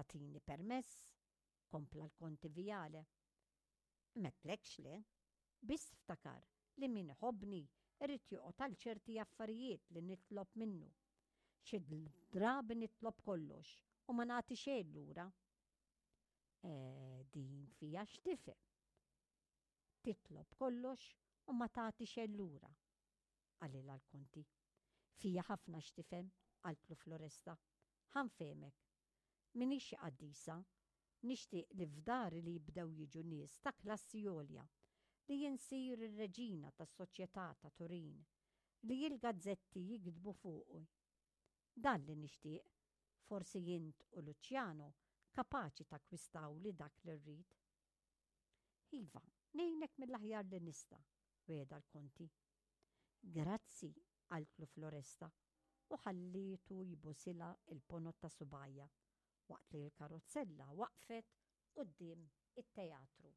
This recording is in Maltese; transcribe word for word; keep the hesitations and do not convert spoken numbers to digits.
Tagħtini permess? Kompla l-Konti Viale. M'għedtlekx le, biss ftakar li min iħobbni irid joqgħod għal ċerti affarijiet li nitlob minnu. Xi drabi nitlob kollox u ma nagħti xejn lura. E, din fija x'tifhem. Titlob kollox u ma tagħti xejn lura, qalilha l-Konti. Fija ħafna x'tifhem, qaltlu Floresta. Ħa nfehmek. M'iniex xi qaddisa, nixtieq li f'dari li jibdew jiġu nies ta' klassi għolja, li insir ir-reġina tas-soċjetà ta' Turin, li l-gazzetti jiktbu fuqi. Dan li nixtieq, forsi int u Luciano kapaċi takkwistawli dak li rrid. Iva, ngħinek mill-aħjar li nista', wegħedha l-Konti. Grazzi, qaltlu Floresta, u ħallietu jbusilha il-ponot ta' subgħajha waqt li l-karozzella waqfet quddiem it-teatru.